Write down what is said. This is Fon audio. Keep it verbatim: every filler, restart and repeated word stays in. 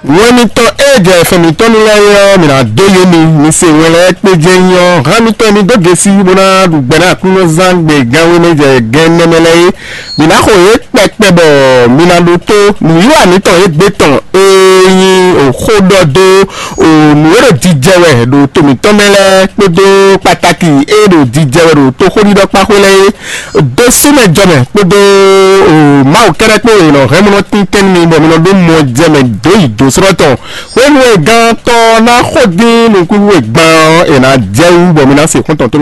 Wɛn mitɔn e jɛ fɛn mitɔn nu lɛ́ɛ é ɔ́, mi ná dó yé mi, mi se wɛn lɛ́ɛ kpé jɛ nyí ɔ́, hán mitɔn mi dó gesi bó ná ɖu gbɛ ná Aklúnɔzán gbe gánwé mɛ jɛ gɛn nɛmɛ lɛ́ɛ é. Mi ná xo yě kpɛkpɛ bɔ mi ná ɖótó nǔwiwa mǐtɔn e gbé tɔn e nyí xó ɖɔ dó nǔ e ɖo jijɛ wɛ ɖo to mǐtɔn mɛ lɛ́ɛ kpódó kpatáki e ɖo jijɛ wɛ ɖo toxóɖiɖɔkpáxwé lɛ́ɛ é. Dó súnmɛ jɔmɛ kpódó Mawu kɛ́ɖɛ́ kpó è nɔ hɛn mɔ nɔ tíntɛ́n nú mi bɔ mi nɔ ɖó mɔ jɛ mɛ dǒ yi dǒ slɔ́ tɔn. Hwenu e gantɔ́ ná xo dín nukúnxu e gban ɔ́, è nǎ jɛ wú bɔ mi ná se xɔ́ntɔn tó.